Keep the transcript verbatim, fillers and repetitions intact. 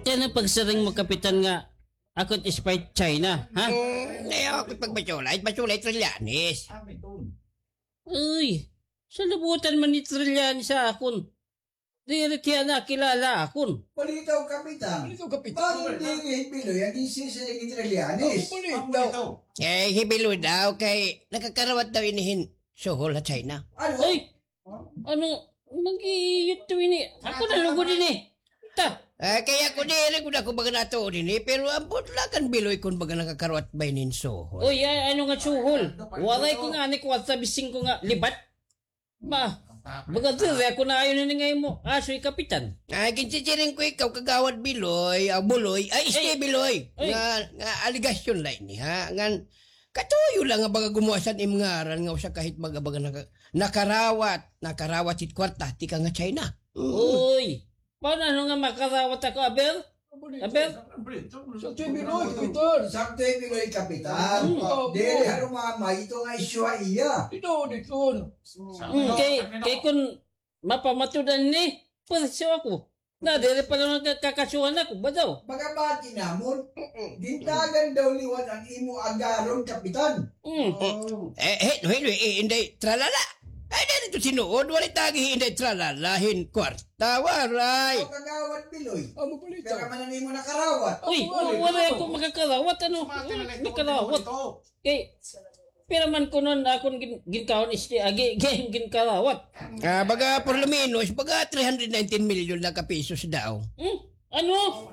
Kay ano pagsiring mo, Kapitan, nga ako it spy China, ha? Hmm, ayaw ako pagbasulay, basulay Trillanes. Uy, salabutan man ni Trillanes ha akon. Diri hiya nakilala akon. Balitaw, Kapitan. Balitaw, Kapitan. Bangin diri hi Biloy an ginsisiring ni Trillanes. Balitaw. Eh, hi Biloy daw kay nakakarawat daw ini hin suhol ha China. Ano? Ay, ano, mag-iiyot to ini. Ako na lugod ini. Ta. Ah, kay ako diri gud ako baga natuod ini, pero ambot la kan Biloy kon baga nakakarawat ba ini hin suhol. Uy, a-, ano nga suhol? Waray ko ngani kwarta, bisan ko nga libat. Ba, baga diri ako naayon ini nga imo asoy, Kapitan. Ah, ginsisiring ko ikaw, Kagawad Biloy, ah, Buloy, ay, este Biloy. Ay. Nga, nga alegasyon la ini, ha? Ngan, katuyo la nga baga gumuwas an im ngaran nga usa ka hit baga, baga naka-, nakarawat, nakarawat hit kwarta tikang ha China. Mm. Uy, paano nga makarawat ako, aber? Aber? Sakto hi Biloy, Kapitan. Sakto hi Biloy, Kapitan. Mm. Diri ha rumamay ito nga isyu ha iya. Ito, dito. Mm, kay, kay kon mapamatud-an ini, pwersa ako. Na, diri pa naman ka-, kakasuhan ako, ba daw? Baga bati namon, gintagan daw liwat an imo agaron, Kapitan. Mm. Eh, eh, no, eh, eh, Inday Tralala. Ay, diri to tinuod, waray tagi hi Inday Tralala hin kwarta, waray. O, Kagawad Biloy. Amo pala ito. Pira man an imo nakarawat? Uy, waray ako makakarawat, ano? Nakarawat. Kay, pira man kuno an akon gin-, ginkaon, este, agi, gin-, ginkarawat. Ah, baga, por lo menos, baga three hundred nineteen million na ka pesos daw. Hmm? Ano?